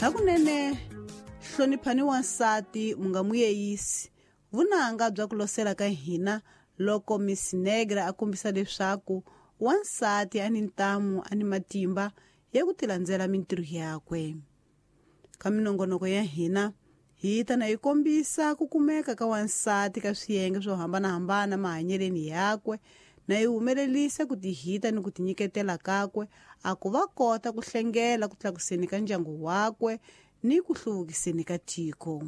Hakunene hloniphani wansati mu nga muyeyisi vunanga bya ku losela ka hina loko Miss Negra a kombisa leswaku wansati a ni ntamu a ni matimba ya ku tilandzela mintirho yakwe. Ka minongonoko ya hina hi ta na yi kombisa ku kumeka ka wansati ka swiyenge swo hambanahambana mahanyeleni yakwe na yi humelelisa ku tihita ni ku tinyiketela kakwe a ku va kota ku hlengela ku tlakuseni ka ndyangu wakwe ni ku hluvukiseni ka tiko.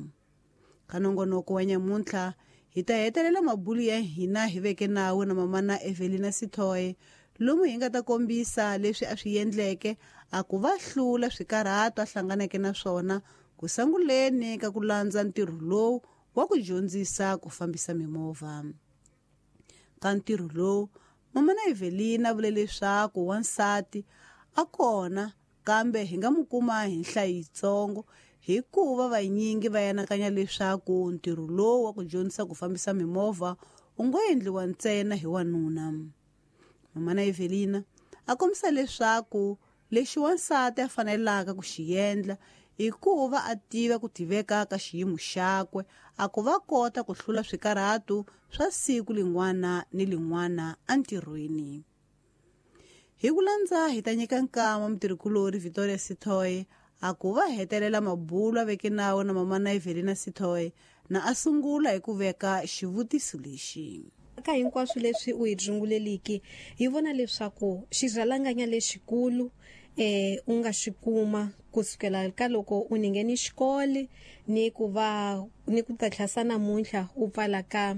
Ka nongonoko wa nyamuntlha hi ta hetelela mabulu ya hina hi veke nawu na mamana Evelina Sithoe lomu hi nga ta kombisa leswi a swi endleke a ku va hlula swikarhato a hlanganeke na swona ku sanguleni ka ku landza ntirho lowu wa ku dyondzisa ku fambisa mimovha. Ka ntirho lowu mamana Evelina vule leswaku wansati a kona kambe hi nga mu kuma hi nhlayo yitsongo hikuva vanyingi va anakanya leswaku ntirho lowu wa ku dyondzisa ku fambisa mimovha wu ngo endliwa ntsena hi wanuna. Mamana Evelina a kombisa leswaku lexi wansati a fanelaka ku xi endla i ku va a tiva ku tiveka ka xiyimo xakwe a ku va kota ku hlula swikarhato swa siku lin'wana ni lin'wana entirhweni. Hi ku landza hi ta nyika nkama mutirhikulori Victoria Sithoe a ku va hetelela mabulu a veke nawu na mamana Evelina Sithoe na a sungula hi ku veka xivutiso lexi. Ka hinkwaswo leswi u hi runguleliki hi vona leswaku xirhalanganya lexikulu u nga xi kuma kusukela ka loko u ningheni xikolo ni ku va ni ku ta tlhasa namuntlha u pfala ka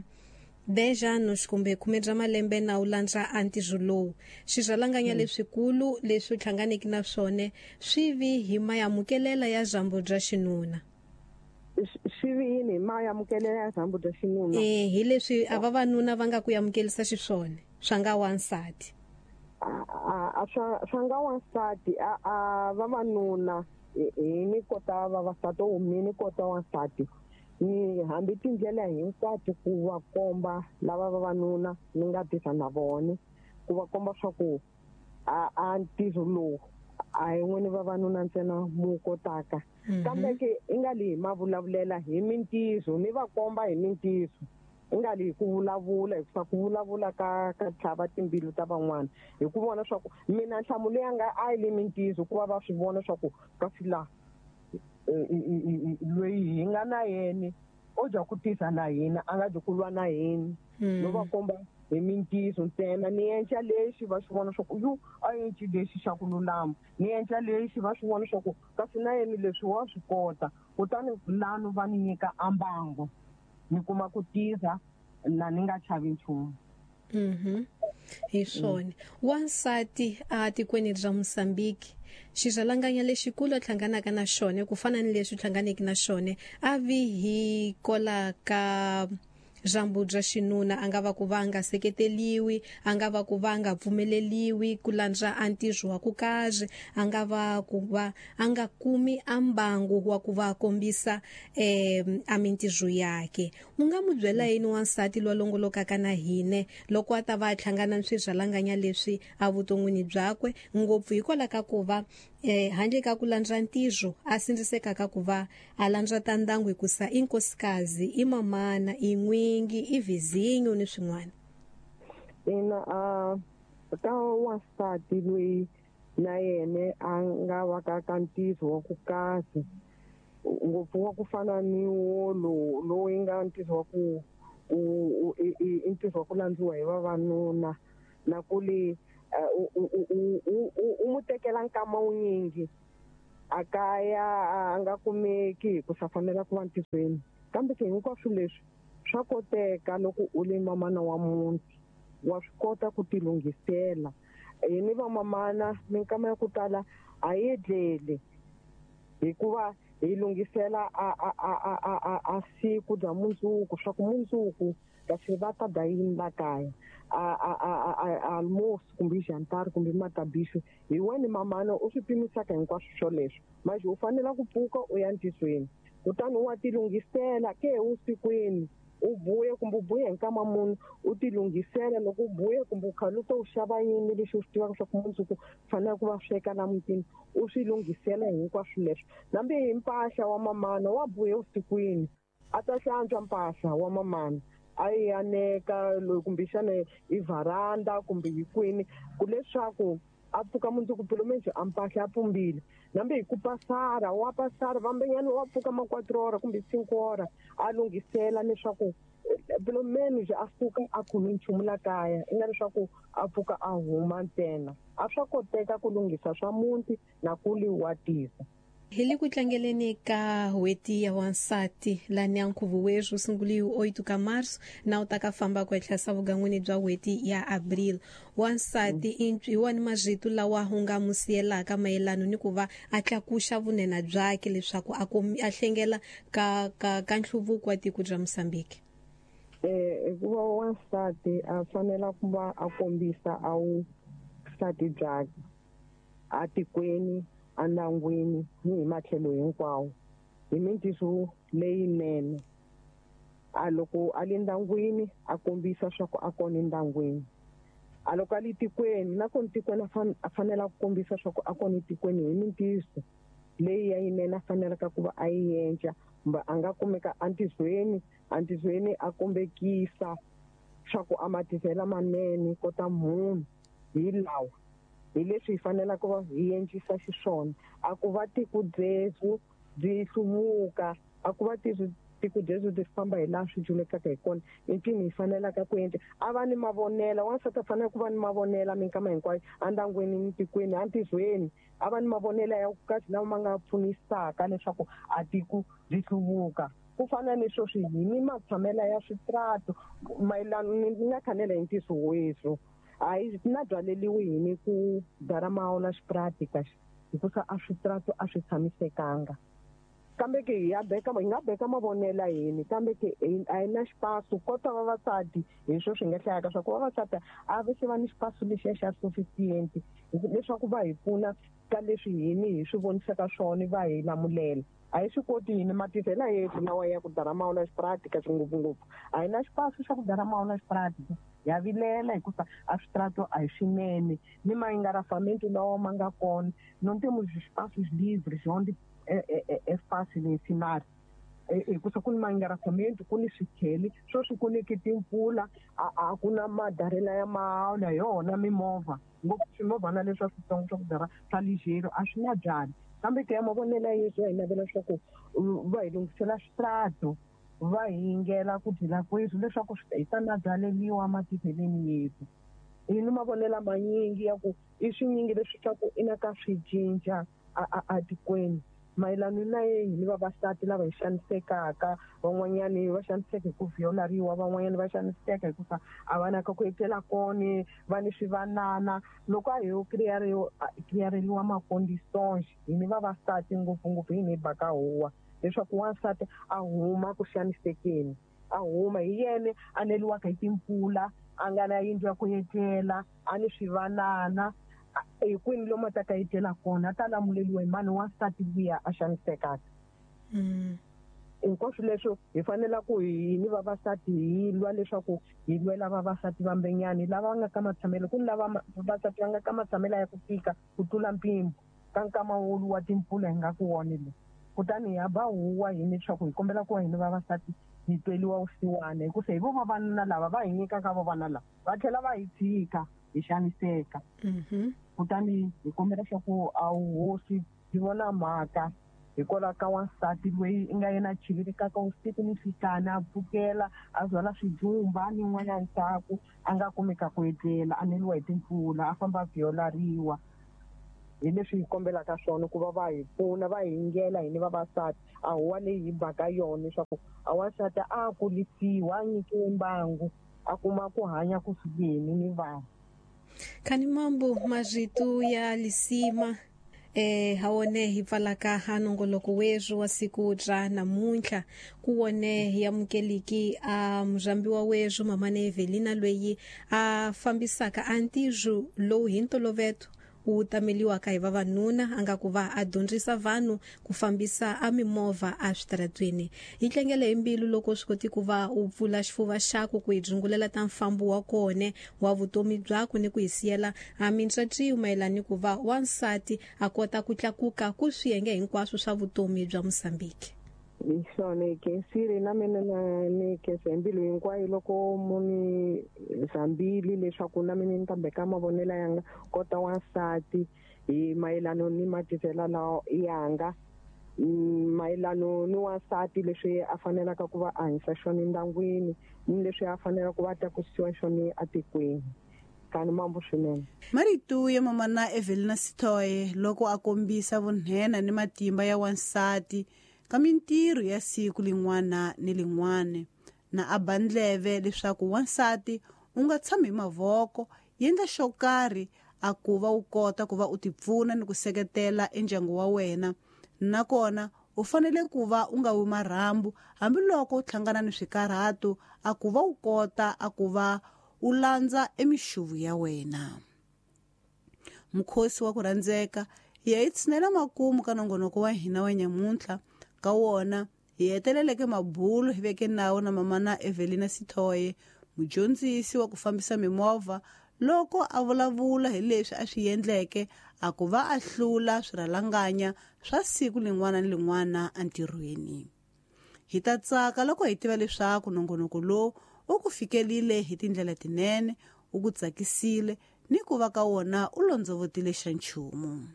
10 anos kumbe 10 bya malembe na u landza a ntirho lowu. Xirhalanganya leswikulu leswi u hlanganeke na swona swi vi hi mayamukelela ya dyambu bya xinuna. Swi vi yini hi mayamukelela ya dyambu bya xinuna? Hi leswi a vavanuna va nga ku yamukelisa xiswona swa nga wansati. A swa nga wansati a vavanuna hi ni kota vavasati o mi ni kota wansati. Ni hambi tindlela hinkwato ku va komba lava vavanuna ni nga tisa na vona ku va komba swa ku a ntirho lowu a hi n'wini vavanuna ntsena mu kotaka. Kambe ke i nga li hi mavulavulela hi mintirho ni va komba hi mintirho i nga li hi ku vulavula hikuva ku vulavula ka tlhava timbilu ta van'wana hi ku vona swa ku mina nhlamulo ya nga a yi le mintirho ku va va swi vona swa ku kasi la loyi hi nga na yena o dya ku tisa na hina a nga dyi ku lwa na hina. No va komba hi mintirho ntsena ni endla lexi va swi vona swa ku yu a endli lexi xa ku lulama ni endla lexi va swi vona swa ku kasi na yena leswi wa swi kota kutani lano va ni nyika ambango ni kuma ku tirha na ni nga chavi nchumu. Hi swona wansati a tikweni ra Mozambique xirhalanganya lexikulu a hlanganaka na xona ku fana ni leswi hlanganeke na xona a vi hi kola ka dyambu bya xinuna a nga va ku va nga seketeliwi a nga va ku va nga pfumeleliwi ku landza a ntirho wa ku karhi a nga va ku va a nga kumi a mbangu wa ku va kombisa a mintirho yakhe. U nga mu byela yini wansati loyi a longolokaka na hine loko a ta va a hlangana ni swirhalanganya leswi a vuton'wini byakwe ngopfu hikwalaho ka ku va handle ka ku landza ntirho a sindzisekaka ku va a landza ta ndyangu hikusa i nkosikazi i mamana i n'wingi i vizinyo ni swin'wana? Ina ka wansati loyi na yena a nga va ka ka ntirho wa ku kahle ngopfu wa ku fana ni wo lowu yi nga ntirho wa ku i ntirho wa ku landziwa hi vavanuna na ku li u mu tekela nkama wunyingi a kaya a nga kumeki hi ku sa fanela ku va ntirhweni. Kambe ke hinkwaswo leswi swa koteka loko u le mamana wa muti wa swi kota ku tilunghisela. Hi ni vamamana minkama ya ku tala a hi edleli hikuva hi lunghisela a siku bya mundzuku swa ku mundzuku kasi va ta dya yini la kaya a almoço kumbe jantar kumbe matabiso hi wena mamana u swi pimisaka hinkwaswo swoleswo. Manje u fanela ku pfuka u ya ntirhweni kutani wa tilunghisela ke vusikwini. U buya kumbe u buya hi nkama munhu u ti lunghisela loko u buya kumbe u khale u to u xava yini lexi u swi tivaka swa ku mundzuku fanele ku va sweka la mutini u swi lunghisela hinkwaswo leswo. Nambi hi mpahla wa mamana wa buya vusikwini a ta hlantswa mpahla wa mamana a yi aneka loyi kumbexana hi varanda kumbe hi kwini ku leswaku a pfuka mundzuku pulumendze a mpahla a pumbile. Nambi hi ku pasara wa pasara vambenyana wa pfuka ma 4 hora kumbe 5 hora a lunghisela leswaku pulumendze a pfuka a khome nchumu la kaya i nga leswaku a pfuka a huma ntsena. A swa koteka ku lunghisa swa muti na ku liwatisa. Hi le ku tlangeleni ka n'hweti ya wansati lani ya nkhuvo werhu wu sunguliwe 8 ka marso na wu ta ka famba ku etlhasa vugan'wini bya n'hweti ya abril. Wansati i wani marito lawa u nga mu siyelaka mayelano ni ku va a tlakuxa vunena byakhe leswaku a a hlengela ka ka ka nhluvuko wa tiko bya Mozambique. Hikuva wansati a fanela ku va a kombisa a wu nsati byakhe atikweni, andyangwini ni hi matlhelo hinkwawo hi mintirho leyinene. A loko a le ndyangwini a kombisa swa ku a kona endyangwini, a loko a le tikweni na kona tikweni a fanele ku kombisa swa ku a kona etikweni hi mintirho leyi ya yinene a faneleke ku va a yi endla, kumbe a nga kumeka entirhweni a kombekisa swa ku a matirhelo manene kota munhu hi lawa. Hi leswi hi faneleke va hi endlisa xiswona. A ku va tiko byebyo byi hluvuka, a ku va tiko byebyo byi famba hi laha swi dyulekaka hi kona, i mpimo hi fanelaka ku endla. A va ni mavonelo, wansati a fanele ku va ni mavonelo minkama hinkwayo endyangwini ni tikweni, entirhweni. A va ni mavonelo ya kahle lawa ma nga pfunisaka leswaku a tiko byi hluvuka. Ku fana ni sweswi hi ni matshamelo ya switrato mayelana ni nga khanela hi ntiyiso wethu. A yi na byaleliwi hi ni ku dara mawula xipratika hikusa a switrato a swi tshamisekanga. Kambe ke hi ya beka hi nga beka mavonelo yini, kambe ke a hi na xipasu kota vavasati hi swo swi nga hlayaka swa ku vavasati a va se va ni xipasu lexiya xa sufficient leswaku va hi pfuna ka leswi hini hi swi vonisaka swona va hi lamulela. A hi swi koti hini matirhelo yetu lawa ya ku dara mawula xipratika ngopfungopfu. A hi na xipasu xa ku dara mawula xipratika. Ya vilela hikuva a switrato a hi swinene ni maengarafamento lawa ma nga kona não temos espaços livres onde é fácil ensinar. Hikusa ku ni maengarafamento, ku ni swikheli sweswi ku niki timpfula a ku na madarela ya mawula hi yona mimovha ngopfu swimovhana leswi switsongo swa ku dara swa ligeiro a swi na byali. Kambe ke ya mavonelo yesu hi navela leswaku va hi lunghisela switrato va hi yingela ku dyela kwethu leswaku hi ta na byaleliwa matirheleni yetu. Hi ni mavonelo manyingi ya ku i swinyingi leswi swa ku i na ka swi cinca a tikweni mayelana na yena ni vavasati lava hi xanisekaka, van'wanyani va xaniseka hi ku violariwa, van'wanyani va xaniseka hikuva a va na ka ku etlela kona, va ni swivanana. Loko a hi yo kiriyareliwa maconditions hi ni vavasati ngopfungopfu hi ni baka huwa leswaku wansati a huma ku xanisekeni, a huma hi yena a neliwaka hi timpfula, a nga na yindlu ya ku etlela, a ni swivanana, hi kwini lomu a ta ka etlela kona, a ta lamuleliwa hi mani wansati luya a xanisekaka. Hinkwaswo leswo hi fanela ku hi ni vavasati hi lwa leswaku hi lwela vavasati vambenyani lava nga ka matshamelo. Ku ni lava vavasati va nga ka matshamelo ya ku tika ku tlula mpimo ka nkama wolu wa timpfula hi nga ku wona le. Kutani hi ba huwa hi leswaku hi kombela ku hi ni vavasati hi tweliwa vusiwana, hikusa hi vo vavanuna lava va hi nyikaka vavana lava va tlhela va hi tshika hi xaniseka. Kutani hi kombela leswaku a hosi byi vona mhaka hikwalaho ka wansati loyi i nga yena a chivirikaka vusiku ni nhlikani, a pfukela a byala swijumba ni n'wana ndzhaku a nga kumeka ku etlela, a neliwa hi timpfula, a famba a violariwa. Hi leswi hi kombelaka swona ku va va hi pfuna, va hi yingela hina vavasati. A huwa leyi hi baka yona leswaku a wansati a kulisiwa, a nyikiwe mbangu, a kuma ku hanya kusukeni ni vanhu. Khani mambo marito ya lisima hawone hi pfalaka ha nongoloko werhu wa siku ra namuntlha ku wone hi amukeliki a murhambiwa werhu mamane Evelina loyi a fambisaka a ntirho lowu hi ntolovelo wu tameliwaka hi vavanuna a nga ku va a dyondzisa vanhu ku fambisa a mimovha a switaratweni. Hi tlangele hi mbilu loko swi koti ku va u pfula xifuva xaku ku hi dzungulela ta mfambo wa kone wa vutomi byaku ni ku hi siyela a mintswatswiyo mayelana ni ku va wansati a kota ku tlakuka ku swiyenge hinkwaswo swa vutomi bya Mozambique. Hi swona hi khensile na mina na ni khensa hi mbilu hinkwayo loko mu ni zambile leswaku na mina ni ta beka mavonelo yanga kota wansati hi mayelano ni matirhelo lawa yanga, mayelano ni wansati leswi a fanelaka ku va a hanyisa xona endyangwini ni leswi a fanelaka ku va a tlakusiwa xona etikweni. Kani mambo swinene. Marito ya mamana Evelina Sitoe loko a kombisa vunhena ni matimba ya wansati ka mintirho ya siku lin'wana ni lin'wana, na a ba ndleve leswaku wansati u nga tshami hi mavoko, yendla xo karhi a ku va u kota ku va u tipfuna ni ku seketela endyangu wa wena. Nakona u fanele ku va u nga wi marhambu hambiloko u hlangana ni swikarhato, a ku va u kota a ku va u landza emixuvu ya wena. Mukhosi wa ku rhandzeka hi ya hi tshinela makumu ka nongonoko wa hina wa nyamuntlha. Ka wona hi heteleleke mabulo hi veke nawu na mamana Evelina Sitoe, mudyondzisi wa ku fambisa mimovha, loko a vulavula hi leswi a swi endleke a ku va a hlula swirhalanganya swa siku lin'wana ni lin'wana entirhweni. Hi ta tsaka loko hi tiva leswaku nongonoko lowu u ku fikelile hi tindlela tinene, u ku tsakisile ni ku va ka wona u londzovotile xa nchumu.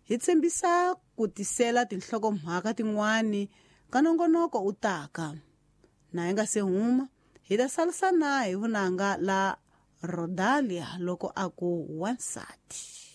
Hi tshembisa ku tisela tinhlokomhaka tin'wani ka nongonoko u taka. Na hi nga se huma, hi ta salisana hi vunanga la Rodalia loko a ku wansati.